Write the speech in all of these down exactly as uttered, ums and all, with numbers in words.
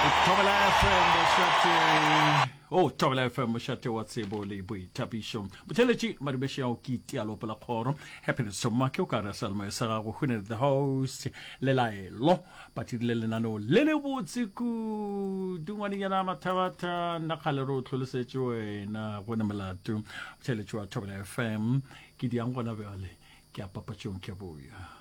Thobela F M mošate, o Thobela F M mošate wa tsebo le boithabišo. Botheletši madumeši ao ke itialopo la kgoro Happiness Tomake o ka re salmo sa gago Hune the host le laelo ba dirile lenaneo le le botse kudu. Ngwanenyana Mathabatha, nna kgale re o tlholosetše wena go ne molato. Botheletši wa Thobela F M, ke diang gona bjale ke a papatšong, ke a boya.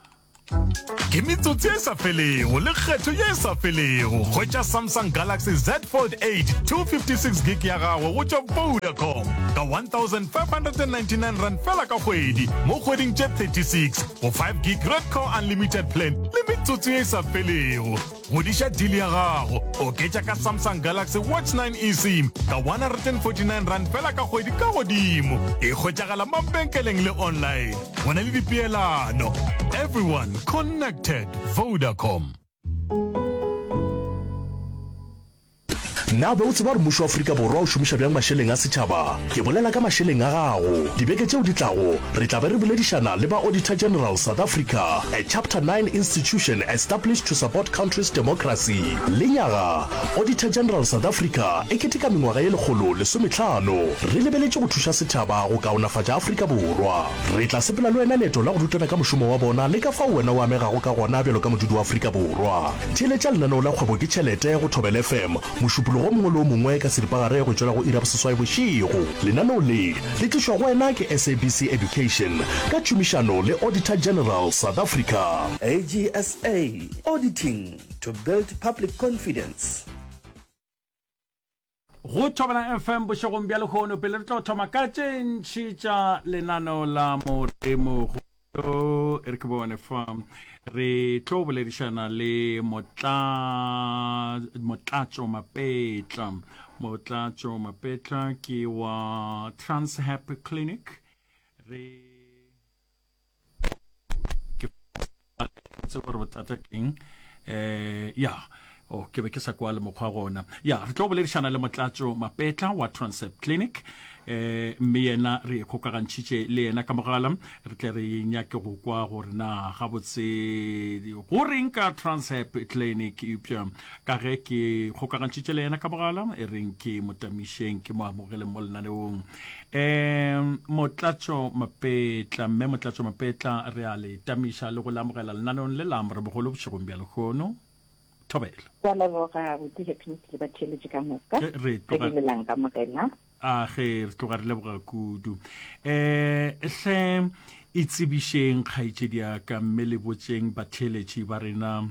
Ke metsotso e sa felego le kgetho ye e sa felego. Hwetša Samsung Galaxy Z Fold eight two fifty-six gig ya gago go tšwa Vodacom ka one thousand five hundred ninety-nine rand fela ka kgwedi mo kgweding tše thirty-six go five gig Red Core Unlimited plan le metsotso ye e sa felego. Godiša deal ya gago, oketša ka Samsung Galaxy Watch nine eSIM ka one hundred forty-nine rand fela ka kgwedi ka godimo. E hwetšagala mabenkeleng le online. Go na le dipeelano. Everyone connected. Vodacom. Na be o tseba gore mmušo wa Afrika Borwa o šomiša bjang mašeleng a setšhaba? Ke bolela ka mašeleng a gago. Dibeke tšeo di tlago, re tla be re boledišana le ba Auditor General South Africa, a Chapter nine institution established to support country's democracy. Lenyaga, Auditor General South Africa e keteka mengwaga ye lekgolo lesometlhano re lebeletše go thuša setšhaba go kaonafatša Afrika Borwa. Re tla sepela le wena leeto la go rutana ka mošomo wa bona le ka fao wena o amegago ka gona bjalo ka modudi wa Afrika Borwa. Theeletša lenaneo la Kgwebo ke Tšhelete go Thobela F M mošupologo mongwe le o mongwe ka seripagare go tšwela go iri ya boseswai bošego. Lenaneo le le tlišwa go wena ke S A B C Education ka tšhomišano le Auditor General South Africa. A G S A, auditing to build public confidence. Go Thobela F M bošegong bja lehono, pele re tlo thoma ka tše ntši tša lenaneo la Moremogolo, e re ke bone fa re tlo boledišana le motla Motlatšo Mapetla. Motlatšo Mapetla ke wa Transhap Clinic. Re ke tse gore bothata keng eh ya o ke be ke sa kwa le mokgwa gona. Ya, re tlo boledišana le Motlatšo Mapetla wa Transep Clinic, eh mme yena re kgokagantšhitše le yena ka mogala, re tle re nyake go kwa gore na gabotse go reng ka Transep Clinic. Eupša ka ge ke kgokagantšhitše le yena ka mogala, e reng ke motamišeng, ke mo amogeleng mo lenaneong. um Motlatšo Mapetla, mme Motlatšo Mapetla, re a le tamiša le go le amogela lenaneong le la Morebogolo bošegong bja lehono. Thobela. Ke a leboga, buti Happiness, le batheeletši ka moka. Re re tloga dumelang ka morena. A ge re tloga re leboga kudu. um hle itsebišeng, kgaetšedi ya ka, mme le botšeng batheeletši ba rena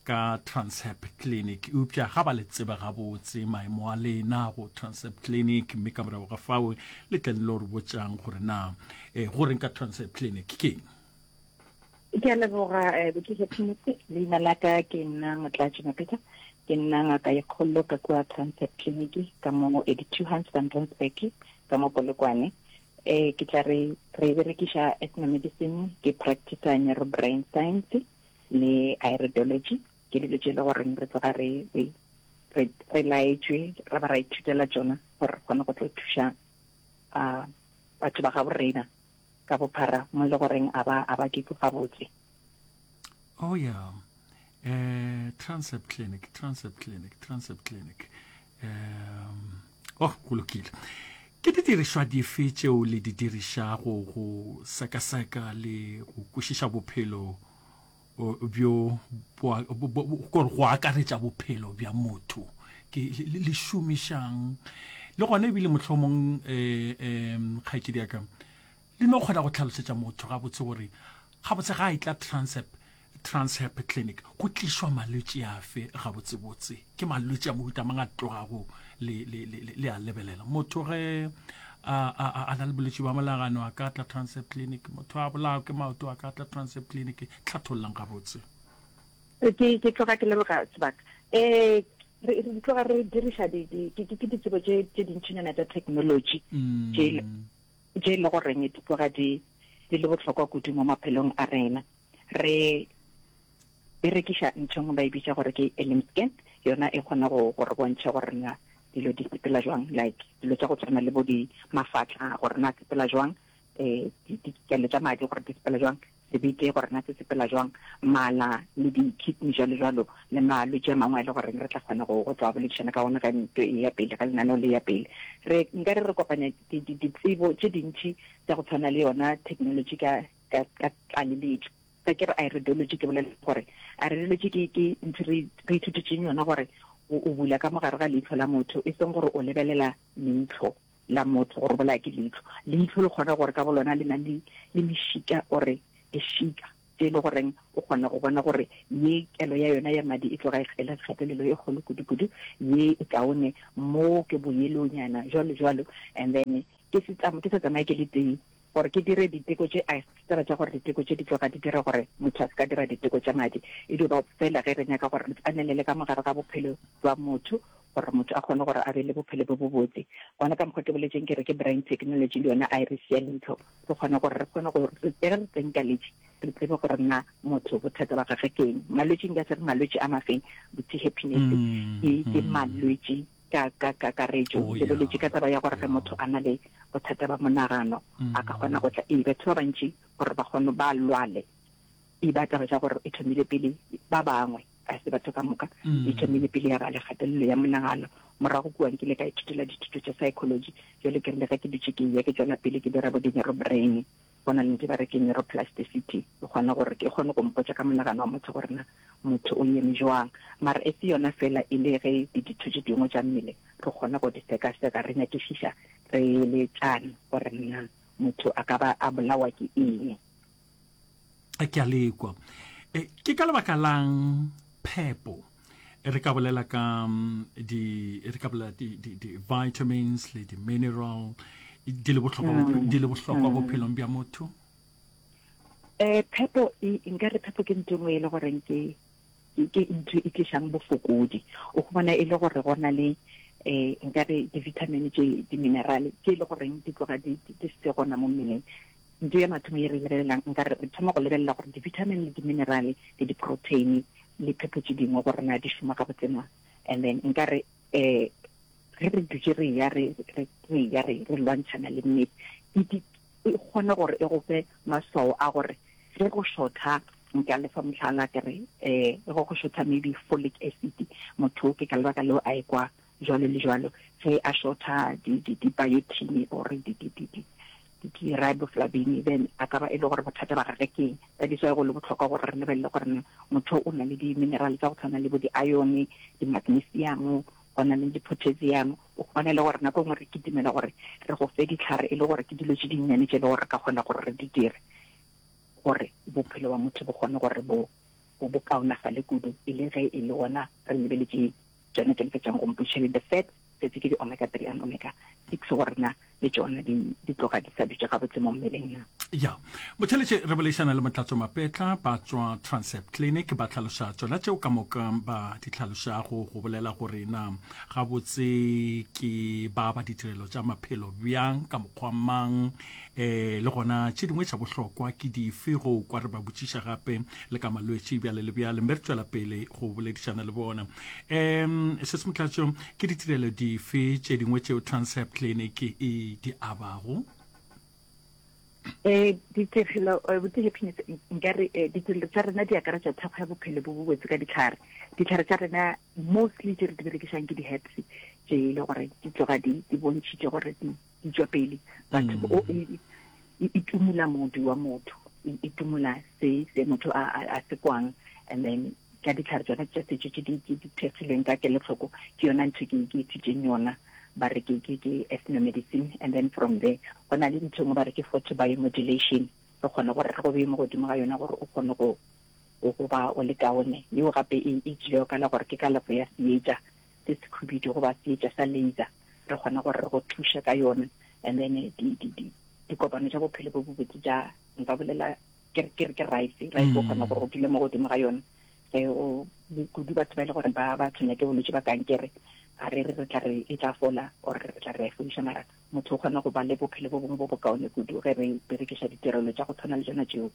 ka Transhep Clinic. Eupša ga ba le tseba gabotse maemo a lena go Transep Clinic, mme ka morago ga fao le tle le lo re botšang gore na um go reng ka Transep Clinic keng. Ke a leboga, eh, buti Happiness. Leina la ka ke nna Motlatši Mapeta, ke nna ngaka ye kgolo ka kua Transep Clinic ka mo eighty-two Hans van Rensburg ka mo Polokwane. eh ke tla re re berekiša ethnomedicine, ke practice neurobrain science le iridology. Ke dilo tše e le goreng re tloga re re re re laetšwe, ra ba ra ithutela tšona gore re kgone go tlo thuša uh batho ba gabo rena ka bophara mo e le goreng a ba a ba ke gabotse. Oh yeah, eh Transep Clinic, Transep Clinic, Transep Clinic. um oh go lokile. Ke didirišwa dife tšeo le di dirišago go sekaseka le go kwešiša bophelo bjo, gore go akaretša bophelo bja motho? Ke le šomišang le gona ebile mohlomong um kgaetšedi ya ka le no kgona go tlhalosetša motho gabotse gore gabotse ga e tla Transep Transhep Clinic go tlišwa malwetši afe gabotsebotse? Ke malwetši a mohuta mang a tlogago le, le, le, le a lebelela? Motho ge a, a, a na le bolwetši bja monagano a ka tla Transep Clinic? Motho a bolawa ke maoto a ka tla Transep Clinic? Tlhathollang gabotse. ke ke tloga ke leboga sebaka. eh re re tloga re diriša di ke ke ditsebo tše tše dintšinyana tša technology tše tše le goreng di tloga di di le bohlokwa kudu mo maphelong a rena. Re berekiša ntho ngwe ba e bitša gore ke elim scan. Yona e kgona go gore bontšha gore na dilo di sepela jwang, like dilo tša go tshwana le bo di mafatla gore na sepela jwang, um dikelo tša madi gore di sepela jwang. Sebete gore na se sepela jwang, mala le di-kidney jwalo jwalo, le malwetši a mangwe a e le goreng re tla kgona go go tla boledišana ka ona ge nto e ya pele, ge lenaneo le ya pele. Re nka re re kopanya ditsebo tše dintši tša go tshwana le yona technology ka ka ka tlaleletšo. Ge ke re iridology ke bolela gore iridology ke ke ntho re re ithutetšeng yona gore o o bula ka mogare ga leihlo la motho, e seng gore o lebelela leihlo la motho gore o bolaya ke leihlo. Leihlo le kgona gore ka bolona le na le le mešika ore dešika tše e le goreng o kgona go bona gore ye kelo ya yona ya madi e tloga e le kgatelelo e kgolo kudu-kudu, ye e kaone mo ke boyelonyana jwalo jwalo. And then ke se ke sa tsamaye ke le tee gore ke dire diteko tše, a se taba tša gore diteko tše di tloga di dira gore motho a se ka dira diteko tša madi, e dio ba fela ge re nyaka gore re tsanelele ka mogare ga bophelo bja motho gore motho a kgone gore a be le bophelo bjo bobotse. Gona ka mokgwa ke boletšeng ke re ke brain technology le yona iris ya leihlo, re kgone gore re kgone go ge re tsenkaletše re tsebe gore na motho bothata ba gagwe ke eng. Malwetši nka se re malwetši a mafeng, botse happiness ke ke malwetši ka ka kakaretšo. Oh, Ke boletše yeah. ka taba ya gore ge motho a na le bothata ba monagano a ka kgona go tla, ee batho ba bantši gore ba kgone ba lwale e ba taba tša gore e thomile pele ba bangwe, ga se batho ka moka, e thomile pele ya ba le kgatelelo ya monagano. Morago kua nkile ka ithutela dithuto tša psychology, jwale ke rile ge ke dutše ke eya ke tšwela pele ke dira bo di-neurobrain, go na le ntho e ba re ke neuroplasticity, e kgona gore ke kgone go mpotša ka monagano wa motho gore na motho o eme jwang. Mara e se yona fela, e le ge le ditho tše dingwe tša mmele re kgona go di sekaseka, re nyakišiša re eletšana gore na motho a ka ba a bolawa ke eng. Ke a lekwa. E, ke ka lebaka lang phepo re ka bolela ka di re ka bolela di di di vitamins le di mineral di le bohlokwa mm. di le bohlokwa mm. bophelong bja motho? Eh phepo e nka re phepo ke ntho nngwe e le goreng ke ke ntho e tlišang bofokodi. O khumana e le gore go na le eh nka re di-vitamin tše di-mineral tše e le goreng di tloga di di se gona mo mmeleng. Ntho ya mathomo ye re lebelelang, nka re re thoma go lebelela gore di-vitamin le di-mineral le di-protein le phepo tše dingwe gore na di šoma gabotse na. And then nka re um ge re dutše re ya re re ya re re lwantšhana le mmele, e kgona gore e go fe maswao a gore ge go shotha, nka lefa mohlala ke re um ge go shotha maybe folic acid, motho ke ka lebaka leo a ekwa jwalo le jwalo. Ge a shotha di-biotin or di-riboflavin, then a ka ba e le gore bothata ba gage ke eng. That is why go le bohlokwa gore re lebelele gore na motho o na le di-mineral tsa go tshwana le bo di-iron, di-magnesium, go na le di-potassium. O kgone le gore nako nngwe re kitimela gore re go fe ditlhare e le gore ke dilo tše dinnyane tše le gore re ka kgona gore re di dire gore bophelo ba motho bo kgone gore bo bo kaonafale kudu, e le ge e le gona re lebeletše tšona tše le fetšang go mpotšiša le the fat setse ke di-omega three and omega six gore na le tšona di di tloga di sa dutše gabotse mo mmeleng na. Ya motheletše re boledišana le Motlatso Mapetla ba tswa Transep Clinic, ba hlaloša tšona tšeo ka moka ba di hlalošago go bolela gore na gabotse ke ba ba ditirelo tša maphelo bjang ka mokgwa mang, um le gona tše dingwe tša bohlokwa ke dife go kwa re ba botšiša gape le ka malwetši bjale le bjale, mme re tšwela pele go boledišana le bona. Um se se Motlatso, ke ditirelo dife tše dingwe tšeo Transep Clinic e di abago? Eh ditirelo botse happiness nka re ditirelo tša rena di akaretša thekgo ya bophelo bo bobotse ka ditlhare. Ditlhare tša rena mostly tše re di berekišang ke di-herbs tše e le gore di tloga di di bontšhitše gore di di tšwa pele batho o e e tumula modu wa motho, e tumula se se motho a a se kwang. And then ka ditlhare tsona tša setšo tše di di thekgilweng ka kelotlhoko, ke yona ntho ke ke ithutšeng yona, ba re ke ke ke ethnomedicine. And then from there go na le ntho engwe ba re ke photobiomodulation, re kgone gore re go beye mo godimo ga yona gore o kgone go go ba o le kaone. Yeo gape e e tšilego ka la gore ke kalafo ya seetša se se khubidu goba seetša sa laser, re kgona gore re go thuše ka yona. And then di di di dikopano tša bophelo bo bobotse tša nka bolela ke ke ke rice rice o kgona gore o dule mo godimo ga yona ge o kudu batho ba e le gore ba ba tshwenya ke bolwetse ba kankere, a re re re tla re e tla fola or re tla re a fodiša, mara motho o kgona go ba le bophelo bo bongwe bo bokaone kudu ge re berekiša ditirelo tša go tshwana le tšona tšeo.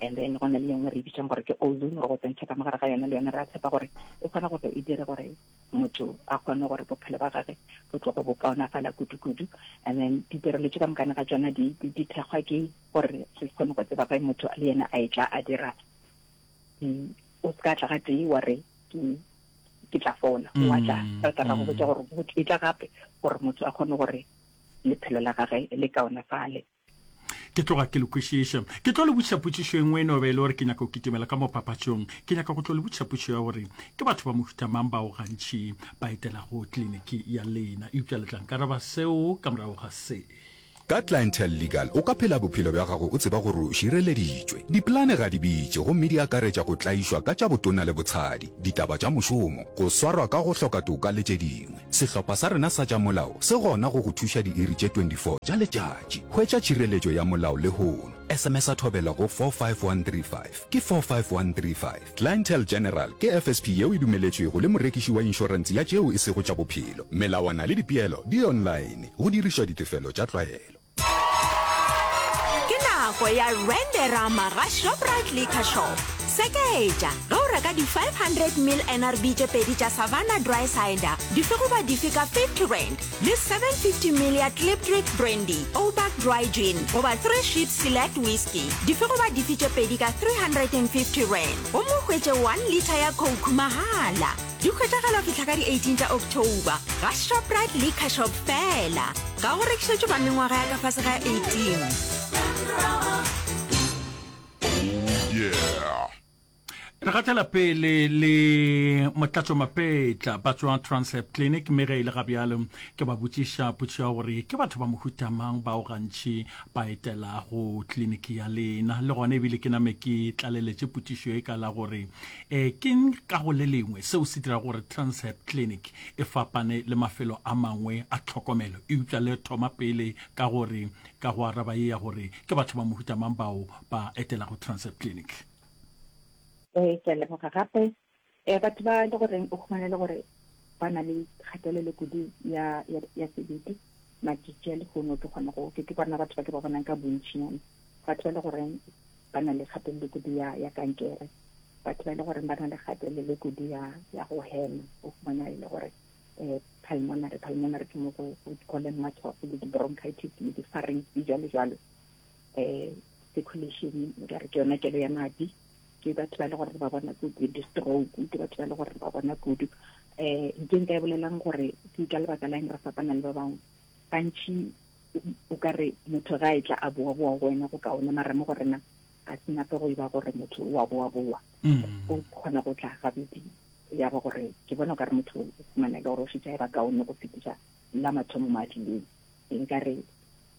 And then go na le engwe re e bitsang gore ke ozone, re go tsentšha ka mogare ga yona, le yona re a tshepa gore e kgona gore e dire gore motho a kgone gore bophelo ba gage bo tloge bo kaonafala kudu-kudu. And then ditirelo tše ka mokana ga tšona di, di, di thekgwa ke gore re kgone go tseba ge motho le yena a etla a dira di, o se ka tla gatee wa re ke ke tla fola, wa tla re tla ra go botša gore go e tla gape gore motho a kgone gore lephelo la gage le kaonafale. Ke tloga ke le kwešiša. Ke tlo le botšiša potšišo e nngwe e no be e le gore ke nyaka go kitimela ka mo papatšong. Ke nyaka go tlo le botšiša potšišo ya gore ke batho ba mohuta mang bao gantši ba etelago kliniki ya lena. Eupša le tla nkaraba seo ka morago ga se. Ka Clientele Legal o ka phela bophelo bja gago o tseba gore o šireleditšwe. Dipolane ga di bitše gomme di akaretša go tlaišwa ka tša botona le botshadi, ditaba tša mošomo, go swarwa ka go hloka toka le tše dingwe. Sehlopha sa rena sa tša molao se gona go go thuša diiri tše twenty four tša letšatši. Hwetša tšhireletšo ya molao lehono. S M S-a Thobela go four five one three five. Ke four five one three five. Clientele General ke F S P yeo e dumeletšwego le morekiši wa inšorense ya tšeo e sego tša bophelo. Melawana le dipeelo di online, go dirišwa ditefelo tša tlwaelo. Ke nako ya Renderama ga Shoprite Liquor Shop. Seketša ge o reka di five hundred mil N R B tše pedi tša Savanna Dry Cider dife goba dife ka fifty rand le seven fifty mil ya Klipdrift Brandy, Obak Dry Gin goba Three Ships Select Whisky dife goba dife tše pedi ka three hundred and fifty rand gomme o hwetše one litre ya Coke mahala. Di hwetšagala go fihla ka di eighteen tša October ga Shoprite Liquor Shop feela. Ga go rekišetšwe ba mengwaga ya ka fase ga eighteen. Re gatela pele le Motlatšo Mapetla ba tšwa Transhep Clinic, mme ge e le ga bjalo ke ba botšiša potšišo ya gore ke batho ba mohuta mang bao gantši ba etelago kliniki ya lena. Le gona ebile ke name ke tlaleletše potšišo e ka la gore um keng ka go le lengwe seo se dirago gore Transhep Clinic e fapane le mafelo a mangwe a tlhokomelo. Eupša le thoma pele ka gore ka go araba ye ya gore ke batho ba mohuta mang bao ba etelago Transhep Clinic. Ee, ke a leboga gape. um batho ba le goreng o khumana le gore ba na le kgatelelo kudu ya ya ya sebete matšatši a lehono, ke kgona go ke ke bona batho ba ke ba bonang ka bontšinyana, batho ba le goreng ba na le kgatelelo kudu ya ya kankere, batho ba le goreng ba na le kgatelelo kudu ya ya go hema, o fumana e le gore um pulmonary pulmonary ke mo go go leng matshwafo le di-bronchitis le di-pharynx di jalo jalo, um circulation ka re ke yona kelo ya madi, ke batho ba le gore ba bona kudu di-stroke, ke batho ba le gore ba bona kudu. um nke nka e bolelang gore ke ka lebaka la eng re fapana le ba bangwe gantši, o ka re motho ga e tla a boa-boa go wena go kaone, mara mo go rena ga se nape go e ba gore motho o a boa-boa, o kgona go tla gabedi ya ba gore ke bona o ka re motho o fumana le gore o šetše a e ba kaone go fetiša la mathomo mo a tlileng. Nka re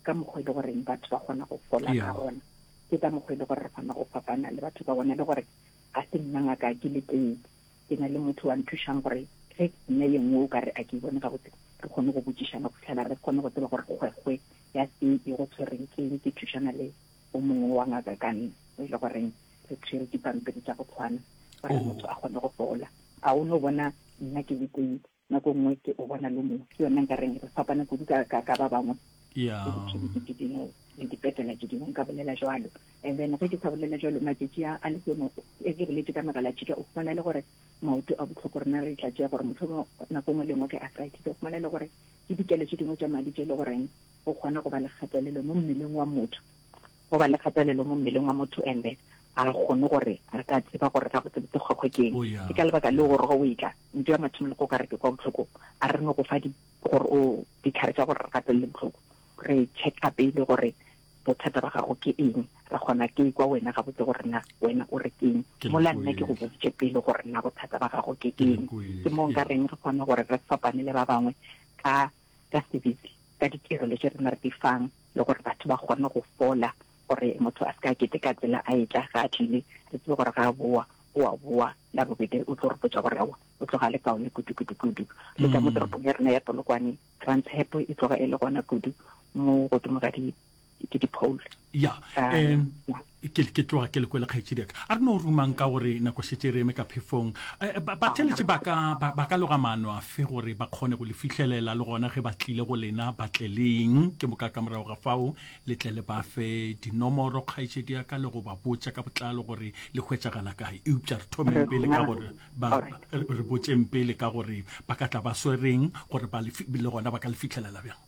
ka mokgwa e le goreng batho ba kgona go fola ka gona, ke ka mokgwa e le gore re kgona go fapana le batho ba bona, le gore ga se nna ngaka ke le tee, ke na le motho wa nthušang gore ge nna ye nngwe o ka re a ke bone gabotse, re kgone go botšišana go fitlhela re kgone go tseba gore kgwekgwe ya se e go tshwereng ke eng. Ke thušana le o mongwe wa ngaka ka nna o e le goreng re tshwere dipampiri tša go tshwana gore motho a kgone go fola. A o no bona nna ke le tee, nako nngwe ke o bona le mongwe, ke yona nka reng re fapana kudu ka ka ka ba bangwe le ditleliniki tše dingwe le dipetlela tše dingwe, nka bolela jwalo. And then ge ke sa bolela jwalo, matšatši a a lehono e ke boletse ka megalatšhika, o fumana le gore maoto a botlhoko, rena re tla tšea gore mohlomongwe nako nngwe le nngwe ke arthritis, o fumana le gore ke dikelo tše dingwe tša madi tše e le goreng go kgona go ba le kgatelelo mo mmeleng wa motho, go ba le kgatelelo mo mmeleng wa motho, and then a kgone gore re ka tseba gore ga botsebotse kgwekgwe ke eng. Oh, yeah. Ke ka lebaka leo gore ge o etla ntho ya mathomo le go ka re ke kwa botlhoko, a re no go fa di gore o ditlhare tša gore re gatelele botlhoko, re checka pele gore bothata ba gago ke eng, re kgona ke kwa wena gabotse gore na wena o re ke eng, Ke mola nna ke go lekwele. boditše pele gore na bothata ba gago ke Ke eng. lekwele, Ke mo nka yeah. reng re kgona gore re fapane le ba bangwe ka ka sebete, ka ditirelo tše rena re di fang, le gore batho ba kgone go fola, gore motho a se ka kete ka tsela a etla ga a tlile, re tsebe gore ga a boa o a boa la bobedi o tlo re botša gore aowa o tloga le kaone kudu kudu kudu. Le ka mo Mm. toropong ya rena ya Polokwane, Transhep e tloga e le gona kudu mo godimo ga di ke di-pole. Ya Ka um ya. Ke, ke tloga ke le kwele kgaetšedi ya ka. A re no rumang ka gore nako šetše re eme ka phefong. Eh, ba, batheeletši ba ka, ba, ba ka loga maano afe gore ba kgone go le fihlelela le gona ge ba tlile go lena ba tle leng? Ke moka ka morago ga fao le tle le ba fe dinomoro kgaetšedi ya ka le go ba botša ka botlalo gore le hwetšagala kae. Eupša re thomeng pele ka gore ba, re botšeng pele ka gore ba ka tla ba swereng gore ba le, le gona ba ka le fihlelela bjang.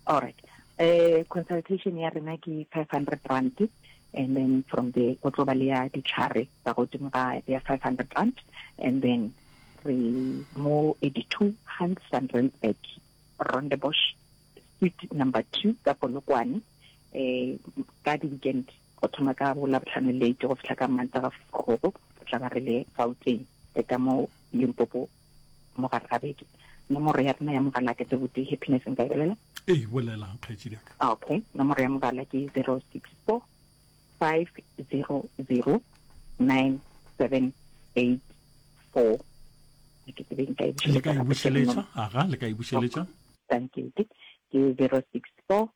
Alright. Eh, consultation ya rena ke five hundred rand and then from there go tlo ba le ya ditlhare tsa godimo ga ya five hundred rand and then re mo eighty-two Hans van Rensburg, Rondebosch, suite number two ka Polokwane. Eh, ka di-weekend go thoma ka bo Labohlano late go fihla ka Mantaga forogo re tla ba re le Gauteng le ka mo Limpopo mo gare ga beke. Nomoro ya rena ya mogala ke tse botee Happiness nka e bolela? Ee, bolela kgaetšedi ya ka. Okay, nomoro ya mogala ke zero six four five zero zero nine seven eight four. Ke tsebe nka e Le ka bušeletša e gape ke bušeletša? Aga, le ka e bušeletša? Thank you. Ke zero six four